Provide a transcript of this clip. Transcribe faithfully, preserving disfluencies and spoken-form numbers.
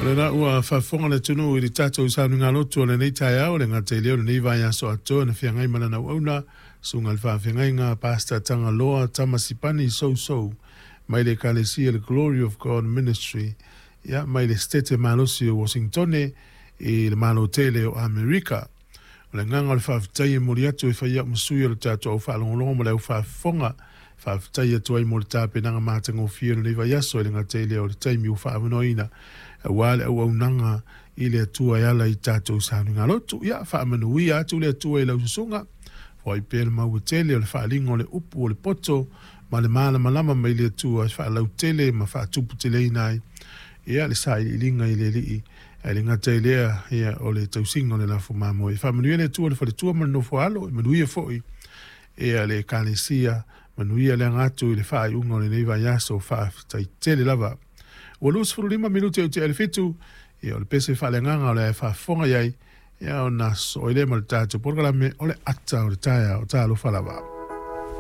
O lena ua faafofoga le atunuu i le tatou saunigalotu o lenei taeao, le gata i lea o lenei vaiaso atoa na feagai ma lana auauna, susuga i le faafeagaiga Pastor Tagaloa Tamasipani Sousou mai le Ekalesia le Glory of God Ministry, ia, mai le Setete malosi o Uasinitone i le Malo tele o Amerika. O le agaga o le faafetai e momoli atu e fai au ma sui o le tatou au faalogologo ma le au faafofoga, faafetai atu ai mo le tapenaga matagofie o lenei vaiaso, e le gata i lea o le taimi ua faaavanoaina aua le auaunaga i le Atua e ala i tatou saunigalotu. Ia faamanuia atu le Atua i lau susuga, foai pea le maua tele o le faaaliga o le upu o le poto ma le malamalama mai le Atua e faalautele ma faatuputeleina ai ia le sailiiliga i le Alii, ae le gata i lea, ia, o le tausiga o le lafo mamoe. Faamanuia le Atua i le faletua ma le nofo a alo, manuia foi ia le Ekalesia, manuia le aga atu i le faaiuga o lenei vaiaso, faafetai tele lava. Ua luasefulu lima minute o tea i le fitu, ia, o le pese faaleagaga o le a faafofoga i ai, ia, ona sosoo ai lea ma le tatou polokalame o le Ata o le Taeao. Talofa lava.